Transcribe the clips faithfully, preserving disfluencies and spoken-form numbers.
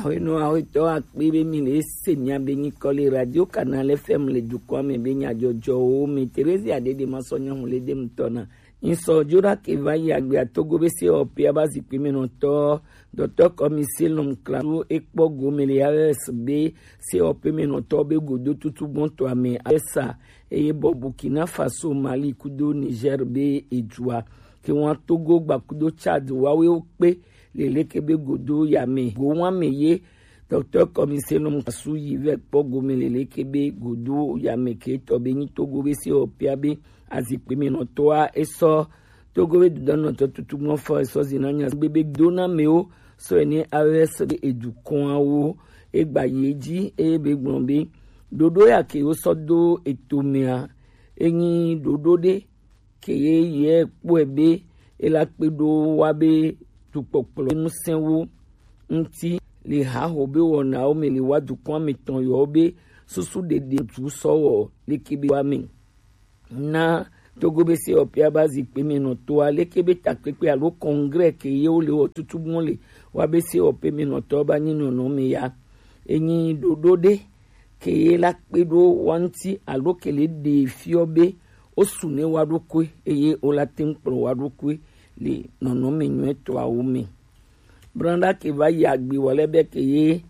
Ahwenɔ ahwetɔ akpe be mi le se mia be nyikɔ le Radio Canal F M le dukɔa me be nyajɔjɔwo me. Teresia Dede ma sɔ nyɔnu le dem tɔna. Ŋsɔ Jora ke va yi agbea Togo be se ɔpea ba zikpui me nɔtɔ. Dɔtɔ kɔmi se lɔm klasu ekpɔ gome le A E S be se ɔpe me nɔtɔ be godo tutu gbɔntɔ ame esa eye bɔ Burkina Faso, Mali kudo Niger be ejua. Ke wan Togo gba kudo Chad wawe wo kpe le leke be godo ya me. Go wan me ye Dɔkta Kɔmi se nɔ mu kasu yi vɛ kpɔ gome le leke be godo ya me ke tɔ be nyi Togo be se ɔpea be azikpui me nɔtɔa esɔ Togo be dudɔnɔtɔ tutu mɔ fɔ esɔ zina nya be be do na mewo sɔ ene A E S be edukɔawo egba yi edzi eye be gblɔ be ɖoɖo ya ke wo sɔ do eto mea enyi ɖoɖo ɖe ke ye ye kpɔe be ela kpe ɖo wa be dukpɔkplɔ ŋusẽwo ŋuti le haho be wɔnawo me le wa dukɔa me tɔn yɔ be susu ɖeɖe tu sɔ wɔ leke be wa me. Na Togo be se ɔpea ba zikpui me nɔtɔa leke be takpekpe alo congrès ke ye wo le wɔ tutu mɔ le wa be se ɔpe me nɔtɔ ba nyi nɔnɔ me ya. Enyi ɖoɖo ɖe ke ye la kpe ɖo wa ŋuti alo ke le ɖe fiɔ be wo su ne wa ɖokui eye wo la te ŋu kplɔ wa ɖokui le nɔnɔme nyuietɔawo me. Branda ke va yi agbi wɔ lɛ be ke ye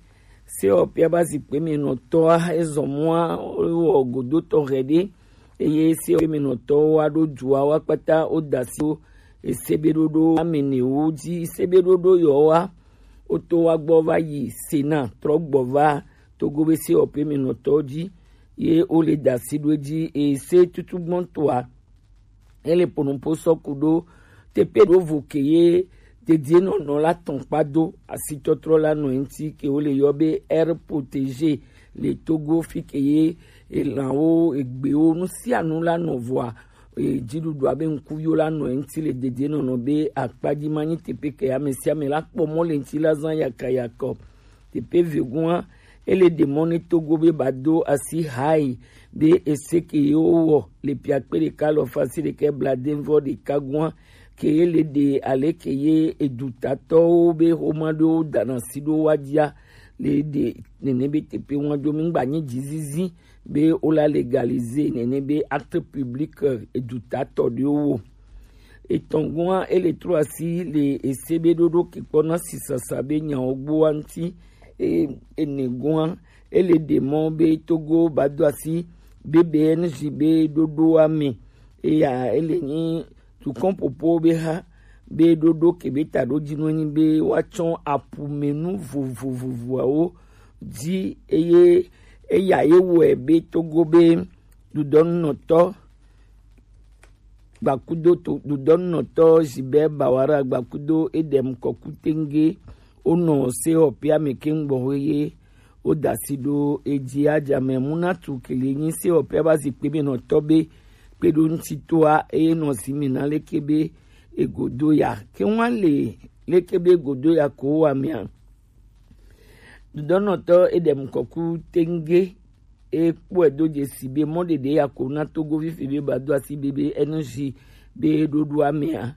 se ɔpea ba zikpui me nɔtɔa ezɔ mɔa wɔ godotɔ hɛ ɖe eye se ɔpea me nɔtɔwo wa ɖo dua wa kpata wo da si wo ese be ɖoɖo ame ne wo dzi se be ɖoɖo yɔ wa wo to wa gbɔ va yi Sena trɔ gbɔ va Togo be se ɔpea me nɔtɔ dzi ye wo le da si ɖo edzi eye se tutu gbɔntɔa ele ponopo sɔ ku ɖo teƒe ɖo vo ke ye dedienɔnɔ la tɔn kpa do asitɔtrɔ la nɔ eŋuti ke wo le yɔ be air protégé le Togo fi ke ye elãwo egbewo nu sia nu la nɔ vɔa e, dziɖuɖua be ŋkuviwo la nɔ eŋuti le dedienɔnɔ be akpa dzi ma nyi teƒe ke ame sia ame la kpɔ mɔ le ŋuti la zã yakayakɔ. Teƒe vegua ele ɖe mɔ ne Togo be ba do asi hai be ese ke ye wo wɔ le piakpe ɖeka lɔ fasi ɖeka bladenvɔ ɖeka gua ke ye le ɖe ale ke ye edutatɔwo be xoma ɖewo dana si ɖo wa dzia le ɖe nene be teƒe ŋua dzo mi gba nyi dzizizi be wo la légaliser nene be acte public edutatɔ ɖewo wo. Etɔn gua ele trɔ asi le ese be ɖoɖo ke kpɔ na sisasa be nyawo gboa ŋuti. E, ene gua ele ɖe mɔ be Togo ba do asi be B N J be ɖoɖoa me eya ele nyi tukɔn popo be ha be ɖoɖo ke be ta ɖo dzi nɔ nyi be woatsɔ aƒumenu vovovovoawo dzi eye eya ye wɔe be Togo be dudɔnunɔtɔ gbakudo to dudɔnunɔtɔ Gilbert Bawara gbakudo Edem Kɔku Tenge wonɔ se ɔpea me keŋ gbɔxwe ye woda si ɖo edzi adzame munatu kele nyi se ɔpea ba zikpui me nɔtɔ be kpe ɖo ŋuti toa eye nɔ si me na leke be egodo ya ke ŋua le leke be egodo ya ko wa mea. Dudɔnɔtɔ Edem Kɔku Tenge e kpɔe do dzesi be mɔ ɖeɖe ya ko na Togo fifi be ba do asi be be N G be ɖoɖoa mea.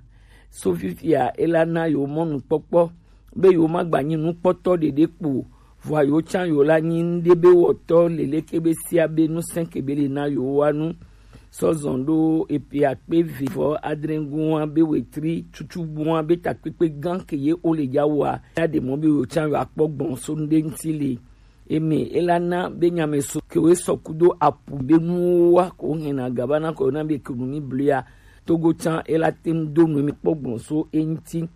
So fifia ela na yewo mɔnukpɔkpɔ be yewo ma gba nyi nukpɔtɔ ɖeɖe kpo vɔa yewo tsã yewo la nyi ŋɖe be wɔtɔ leleke be sia be nusẽ ke be le na yewo wa nu. Sɔ zɔn ɖo epe akpe eve vɔ adre gua be wetri tutu gua be takpekpe gã ke ye wo le dza wɔa ya ɖe mɔ be yewo tsã yewo akpɔ gbɔn so ŋɖe ŋuti le eme ela na be nyame so ke wo sɔ kudo apu be nuwo wa ko hɛn na gaba na ko na be kenu mi blia Togo tsã ela te ŋu do nu emi kpɔ gbɔn so eŋuti.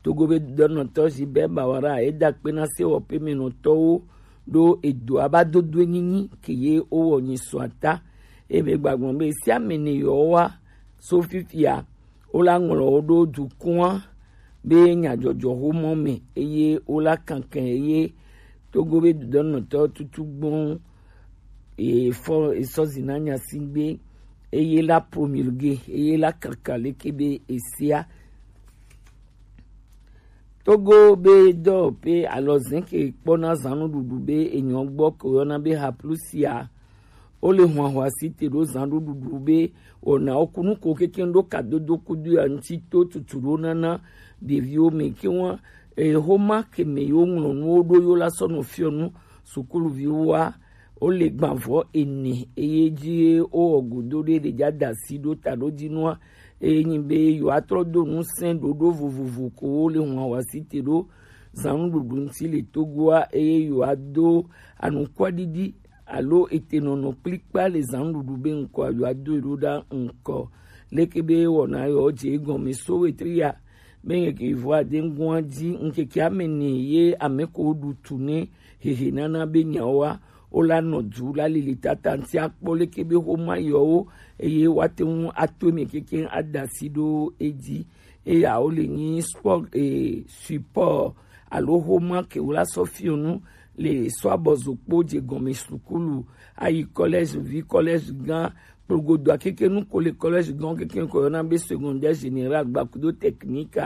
Togo be dɔnɔtɔ Gilbert Bawara eda akpe na sewɔƒe me nɔtɔwo ɖo edo aba dodo nyinyi ke ye wowɔ nyi sɔ ata. Ebe gbagbɔn be sia me ne yewowa so fifia wola ŋlɔ wo ɖo dukɔa be nyadzɔdzɔ xomɔ me eye wola kankɛ eye Togo be dudɔnɔtɔ tutu gbɔn efɔ esɔzi na nya si gbe eye la promulgué eye la kaka leke be esia. Togo be dɔwɔƒe alɔzẽ ke kpɔna zãnuɖuɖu be enyɔ gbɔ ke woyɔna be haplusia. Wole hwahwa si te ɖo zãnuɖuɖu be wɔnawo kunu ko kekeŋ ɖo kadodo kudo ya ŋuti to tutu ɖo nana ɖeviwo me ke wa e, xoma ke me yo ŋlɔ nuwo ɖo yo la sɔ nɔ fiɔ nu sukuluviwo wa. Wo le gbanvɔ ene eye ji wo wɔ godo ɖe ɖe ja da asi ɖo ta ɖo ji nua, eye nyi be yewoatrɔ do ŋusẽ ɖoɖo vovovo ko wo le hun awasi te ɖo zan nuɖuɖu ŋuti le Togoa, eye yewoado anukwaɖiɖi alo etenɔnɔ kplikpa le zan nuɖuɖu be ŋkɔ yewoado ɖo ɖa ŋkɔ. Leke be wɔna yewo dze egɔme so wetri ya be ŋkeke vɔ ade ŋgɔa dzi ŋkeke ame ne ye ame ko ɖu tu ne hehe nana be nyawoa, wo la nɔ du la lili tata ŋuti akpɔ leke be xoma yewo eye woate ŋu ato eme keke ada asi ɖo edzi. Eya wo le nyi sport, eh, support alo xoma ke wo la sɔ fiɔ nu le sɔ abɔzo kpo dze gɔme sukulu ayi collège vi collège gã kplogodo akeke nu ko le collège gã keke ko yɔna be secondaire général gbakudo technique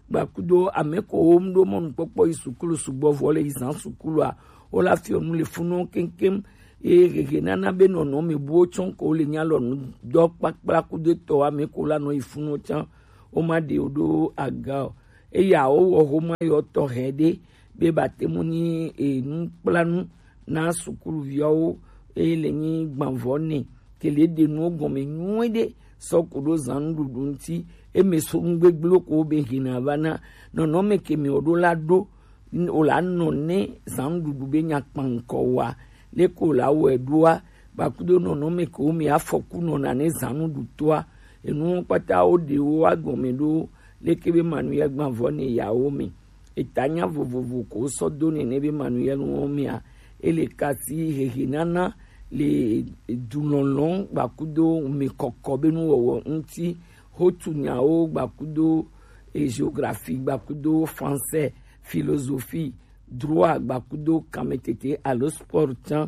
gbakudo ame ko wo mu ɖo mɔnukpɔkpɔ yi sukulu sugbɔ vɔ le yi zan sukulua wo la fiɔ nu le funu keŋkeŋ. Eye hehe nana be nɔnɔme buwo tsɔ ko le nya lɔ nu dɔ kpakpla kudo tɔ ame ko la nɔ yi funu tsã wo ma ɖe wo ɖo aga o. Eya wo wɔ xoma yɔ tɔxɛ ɖe be ba te mu ni enu kpla nu na sukuluviawo eye le nyi gbanvɔ ne ke le ɖe nuwo gɔme nyuie ɖe sɔ ku ɖo zan nuɖuɖu ŋuti. Eme so nugbegblẽwo ko be hina va na nɔnɔme ke me wo ɖo la ɖo o la nɔ ne zan nuɖuɖu be nya kpankɔ wa le ko la wɔe ɖoa gbakudo nɔnɔme ke wo me afɔku nɔna ne zan nuɖutoa enu kpata wo ɖe wo agɔme ɖo leke be manu ya gbanvɔ ne yawo me. Eta nya vovovo ko sɔ do nene be manuel wo mea ele kasi hehe nana le dulɔlɔ gbakudo mekɔkɔ be nuwɔwɔ ŋuti, hotu nyawo gbakudo e géographie gbakudo français, philosophie, droit gbakudo kametete alo sport tsã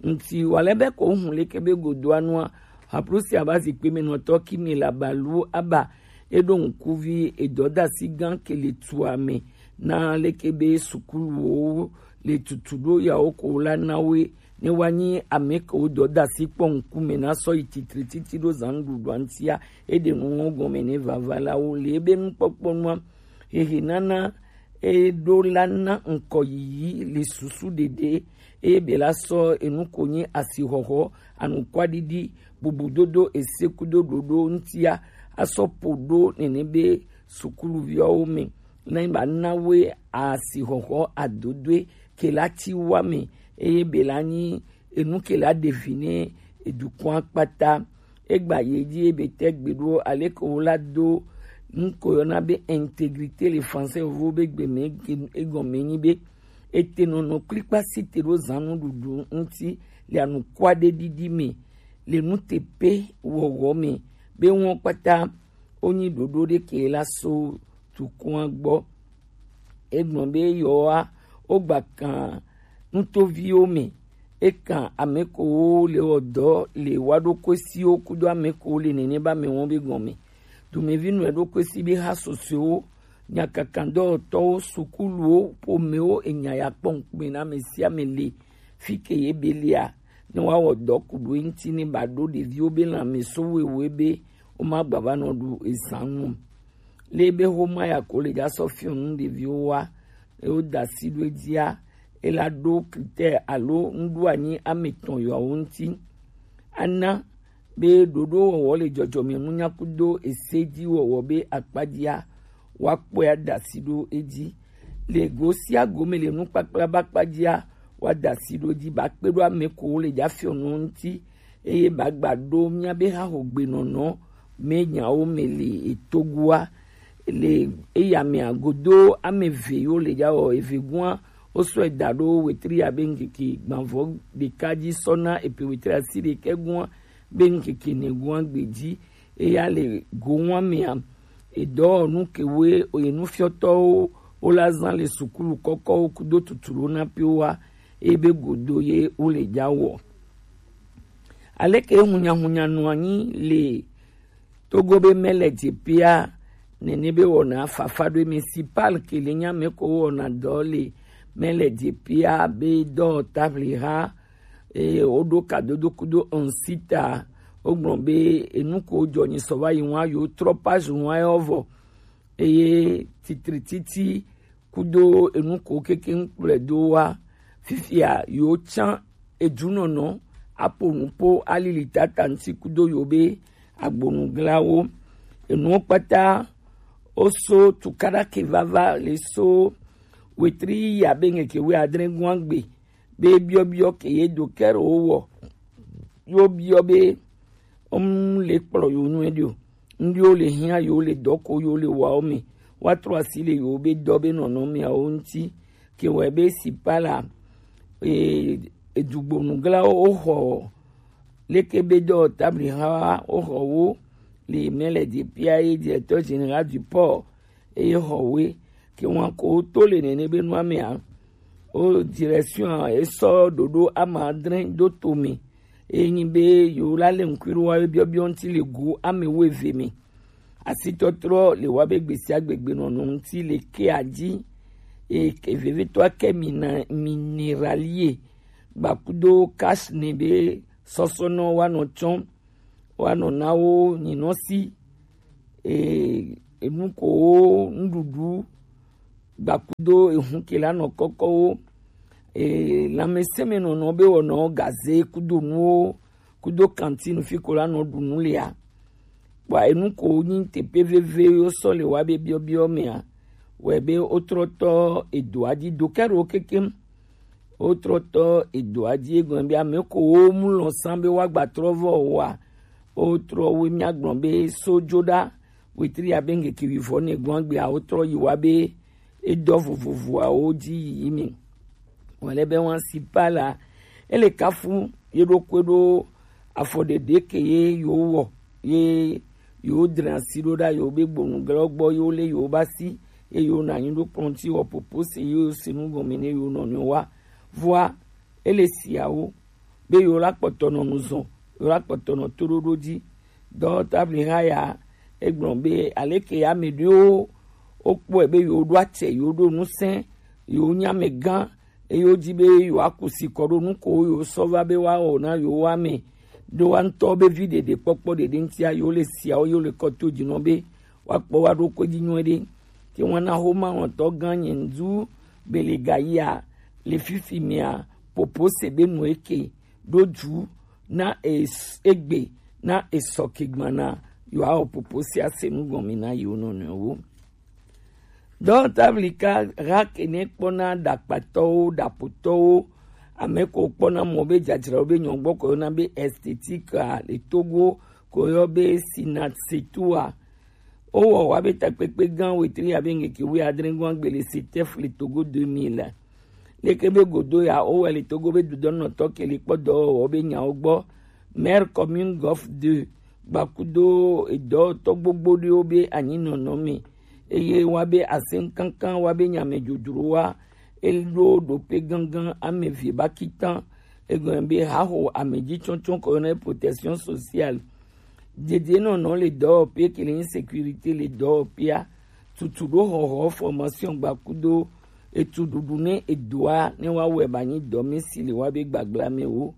ŋuti. Wale be ko hun leke be godoa nua haplusi aba zikpe me nɔtɔ ki me la balu aba eɖo ŋkuvi edɔdasi gã ke le tua me na leke be sukuluwo le tutu ɖo yawo ko la na woe ne woanyi ame kewo dɔdasi kpɔ ŋkume na sɔ yi titri titi ɖo zan nuɖuɖua ŋutia eɖe nuwo gɔme ne vava la wo le ebe nukpɔkpɔ nua hehe nana eɖo la na ŋkɔ yiyi le susu ɖeɖe eye be la sɔ enu ko nyi asixɔxɔ, anukwaɖiɖi, bubudodo, esekudo ɖoɖo ŋutia asɔ po ɖo nene be sukuluviawo me ne ba na woe asixɔxɔ adodoe ke la ti wa me eye be la nyi enu ke la ɖe vi ne edukɔa kpata. Egba ye dzi ebe te gbe ɖo aleke wo la do nu ko yɔna be intégrité le français vovo be gbe me egɔme nyi be ete nɔnɔ kplikpa si te ɖo zan nuɖuɖu ŋuti le anukua ɖe ɖiɖi me le nuteƒe wɔwɔ me be wɔn kpata wonyi ɖoɖo ɖeke la so tukua gbɔ. Egblɔ be yewoa wogba kan nutoviwo me. Ekan ame kowo le wɔ dɔ le wa ɖokuesiwo kudo ame kowo le nene ba me wɔn be gɔme. Domevi nɔ ɖokuesi be ha sosoewo, nyakakandɔtɔwo, sukuluwo, ƒomewo enya ya kpɔ ŋkume na ame sia ame le fi ke ye be lia ne wa wɔ dɔ ku ɖo ŋuti ne ba ɖo ɖeviwo be lãme so wewe be wo ma gba va nɔ ɖu ezan nu. Le be xoma ya ko le dza sɔ fiɔ nu ɖeviwo wa eye woda asi ɖo edzia ela ɖo critère alo nuɖoanyi ame etɔ̃ yewoawo ŋuti. Ana be ɖoɖowɔwɔ le dzɔdzɔmenunya kudo esedziwɔwɔ be akpadzia woakpɔe ada asi ɖo edzi. Le go sia go me le nukpakpla be akpadzia woada asi ɖo edzi bakpe ɖo ame kowo le dza fiɔ nu ŋuti eye bagba ɖo míabe haxogbenɔnɔ me nyawo me le etogoa le eya mea godo ame eve yiwo le dza wɔ eve gua wosɔe da ɖo wetri abe ŋkeke gbanvɔ ɖeka dzi sɔ na epe wetri asi ɖekɛ gua be ŋkeke ne gua gbe dzi eya le go wa mea edɔwɔnu kewoe enufiɔtɔwo wola zã le sukulu kɔkɔwo kudo tutulu na piwoa ebe godo ye wole dza wɔ. Aleke hunyahunya nɔ anyi le Togo be mele dzepia nene be wɔna fafa ɖo municipal ke le nya me ko wɔna dɔ le mele dzepia be dɔ tabliha eye woɖo kadodo kudo ŋsita wogblɔ be enu ko dzɔ nyi sɔ va yi ŋua yewo trɔ page ŋua yɔ vɔ eye titrititi kudo enu ko keke ŋkplɔe do wa. Fifia yewo can edunɔnɔ apo nu po alili tata ŋuti kudo yewo be agbonuglawo. Enuwo kpata wo so tukaɖa ke vava le so wetri ya be ŋkeke wuiadre gɔn agbe be biɔbiɔ ke ye do kɛro wo wɔ. Yo biɔ be, um, le kplɔ yo nyuie ɖi o. Ŋɖi wo le hiã yo le dɔ ko yo le wa wo me. Wa trɔ asi le yo be dɔ be nɔnɔ mea wo ŋuti. Ke wɔ be si pa la, e, edugbonuglawo wo xɔ leke be dɔ tabli ha wo xɔ wo le mɛ le de pia ye directeur général du port eye xɔ woe. Ke wan ko to le nene be nua mea, o direction a esɔ ɖoɖo ama adre do to me. Eye nyi be yewo la le ŋkui ɖo wa be biɔbiɔ ŋuti le go ame wo eve me. Asitɔtrɔ le wa be gbesiagbe gbenɔnɔ ŋuti le kea dzi. Eye ke vevitɔa ke mina mineralie gbakudo cash ne be sɔsɔnɔ wa nɔ tsɔm wa nɔ na wo nyinɔ si, e, enu ko wo nuɖuɖu gbakudo ehun ke la nɔ kɔkɔ wo, e, lãmesẽmenɔnɔ be wɔnɔ gaze kudo nuwo kudo kantine fi ko la nɔ ɖu nu lea. Kpɔa enu ko nyi teƒe veve yo sɔ le wa be biɔbiɔ mea, wɛ be wotrɔ tɔ edoa dzi do ke ɖo kekem. Wotrɔ tɔ edoa dzi egɔme be ame ko wo mu lɔ san be woagba trɔ vɔ wa. Wotrɔ wo mia gblɔ be sojo ɖa wetri abe ŋkeke wuivɔ ne gbɔn agbea wotrɔ yi wa be edɔ vovovoawo dzi yiyi mi. Wòle be wan si pa la, ele kafu ye ɖokui ɖo afɔɖeɖe ke ye yewo wɔ ye yewo dre asi ɖo ɖa yewo be gbonu glɔ gbɔ yewo le yewo ba si ye yewo na anyi ɖo kplɔ̃ ŋuti wɔ popo se yewo se nu gɔme ne yewo nɔnɔewo wa. Vɔa ele siawo be yewo la kpɔtɔ nɔ nu zɔn, yewo la kpɔtɔ nɔ toɖoɖo dzi. Dɔ tabli ha ya egblɔ be aleke ame ɖewo wokpɔe be yewo ɖo atsɛ, yewo ɖo ŋusẽ, yewo nye amegã, eye wodi be yewoaku si kɔ ɖo nu ko yewo sɔ va be woawɔ na yewo ame ɖo wa ŋutɔ be vi ɖeɖe kpɔkpɔ ɖeɖe ŋutia yewo le siawo yewo le kɔ to dzi nɔ be woakpɔ wa ɖokui dzi nyuie ɖe. Ke wana xoma ŋɔtɔ gã nye ŋdu be le gayia le fifi mea popo se be nu eke ɖo dzu na es-, egbe na esɔ ke gbana yewoawɔ popo sia se nu gɔme na yewo nɔnɔewo. Dɔwɔtablika ha ke ne kpɔna ɖakpatɔwo, ɖapotɔwo, ame ko kpɔna mɔ be dzadzraɖo be nyɔgbɔ ko yɔna be esthétique a le Togo ko yɔ be Sinatsetua. Wowɔ wa be takpekpe gã wetri abe ŋkeke wuiadre gɔn agbe le Setef le Togo deux mille. Leke be godo ya wowɔe le Togo be dudɔnɔtɔ ke le kpɔ dɔwɔwɔ be nyawo gbɔ. Maire commune Golf deux gbakudo edɔwɔtɔ gbogbo ɖewo be anyinɔnɔ me. Eye wa be aseŋkankan wa be nyame dzodzro wa eɖo ɖope gangan ame vie ba kitan. Egɔme be haho ame dzi tsɔtsɔ ko yɔna protection sociale. Dedienɔnɔ le dɔwɔƒe ke le insécurité le dɔwɔƒea. Tutu ɖo xɔxɔ formation gbakudo etu ɖuɖu ne edoa ne wa wɛ ba nyi dɔme si le wa be gbagblame wo.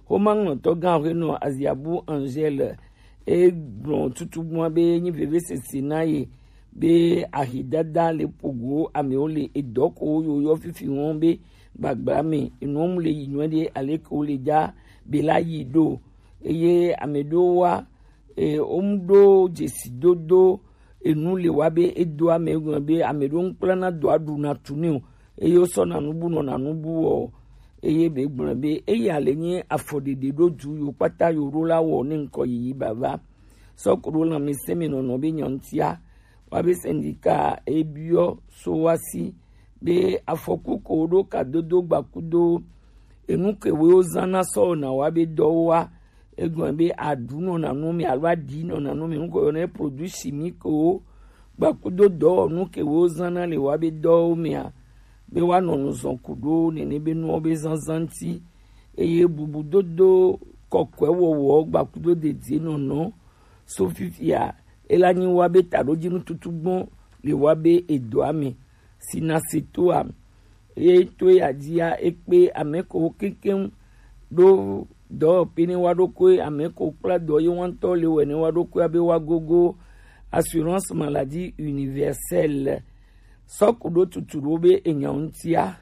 Xoma ŋlɔtɔ gã aƒenɔ Aziabu Angèle e gblɔ tutugbua be nyi vevesese na ye be ahidada le pogo amewo le edɔ ko yo yɔ fifi wɔn be gbagblame enuwo mu le yi nyuie ɖe aleke wo le dza be la yi ɖo. Eye ame ɖewo wa, e, wo mu ɖo dzesidodo enu le wa be edo ame gɔme be ame ɖewo ŋkplana do aɖu na tu ne o eye wosɔ na nubu nɔ na nubu wɔ o. Eye be gblɔ be eya le nye afɔɖeɖe ɖo du yo kpata yo ɖo la wɔ ne ŋkɔ yiyi bava sɔ ko ɖo lãmesẽ me nɔnɔ be nyɔnutia wa be syndicat ebiɔ so wa si be afɔku ko ɖo kadodo gbakudo enu ke wo zã na sɔ na wa be dɔwo wa. Egɔme be aɖu nɔ nanu me alo aɖi nɔ nanu me ŋkɔ yɔ ne produit chimique wo gbakudo dɔwɔnu ke wo zã na le wa be dɔwo mea be wa nɔ nu zɔn ku ɖo nene be nuwo be zazã ŋuti. Eye bubudodo kɔkɔe wɔwɔ gbakudo dedie nɔnɔ so fifia ela nyi wa be taɖodzinu tutu gbɔn le wa be edoa me si na se toa. Eye to ya dzia ekpe ame ko kekeŋ ɖo dɔwɔƒe ne wa ɖokui ame ko kpla dɔ ye wa ŋutɔ le wɛ ne wa ɖokui abe wa gogo assurance maladie universelle. Sɔkuɖo tutuɖo be enyɔ ŋutia,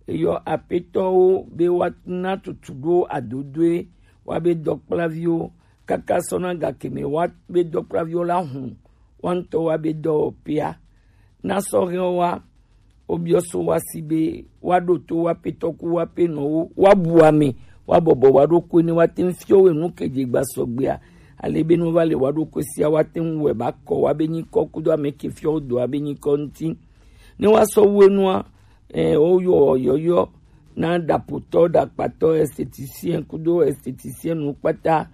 eyɔ apetɔwo be woana tutuɖo adodoe wa be dɔkplaviwo kaka sɔna gakeme wa be dɔkplaviwo la hun wa ŋutɔ wa be dɔwɔpea. Na sɔhɛwo wa wobiɔ so wa si be wa ɖo to wa petɔku wa pe nɔwo wa bu ame wa bɔbɔ wa ɖo koe ne wa te ŋu fiɔ we nu ke dze gba sɔgbea. Ale be nu va le wa ɖo koe sia wa te ŋu wɛ ba kɔ wa be nyikɔ kudo ame ke fiɔ do wa be nyikɔ ŋuti. Ne wa sɔ wu enua, eh, wo yɔ yɔyɔ na ɖapotɔ, ɖakpatɔ, esthéticien kudo esthéticienne kpata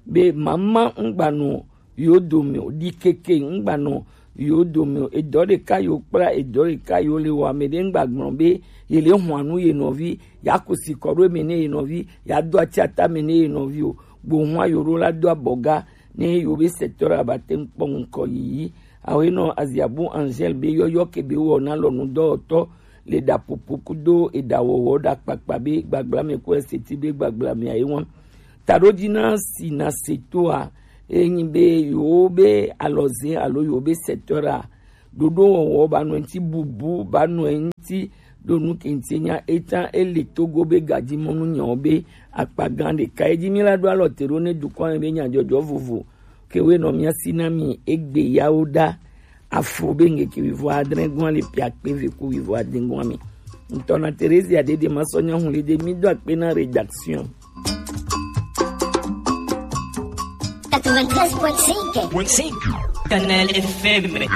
be mama ŋgbanɔ yo dome o, ɖi keke ŋgbanɔ yo dome o. Edɔ ɖeka yo kpla, edɔ ɖeka yo le wɔ ame ɖe ŋgba gblɔ be ye le hɔn anu ye nɔvi, ya ku si kɔ ɖo eme ne ye nɔvi, ya do atsi ata me ne ye nɔvi o. Gbo hɔn yo ɖo la do abɔga ne yo be secteur aba te ŋkpɔ ŋkɔ yiyi. Awe nɔ Aziabu Angèle be yɔyɔ ke be wɔ na lɔnu dɔwɔtɔ le ɖapopo kudo eɖawɔwɔ ɖakpakpa be gbagbla me ku eseti be gbagbla me ayi wan. Taɖo dzi na si na se toa, enyi be yewo be alɔze alo yewo be secteur a, ɖoɖo wɔwɔ ba nɔ ŋuti bubu, ba nɔ ŋuti ɖo nu ke ŋuti nya eta ele Togo be gadimɔnu nyawo be akpa gã ɖeka. Edzi mi la ɖo alɔ te ɖo ne dukɔ me be nyadzɔdzɔ vovo ke we nɔ mia si na mi egbe yawo ɖa. Afo be ŋkeke wivɔ adre gɔn le pia kpe ve ku wivɔ ade gɔn me. Ŋutɔ na Theresia Dede ma sɔ nya hun le de mi do akpe na rédaction. Quatre-vingt-treize point cinq. Point cinq. Kanal F M.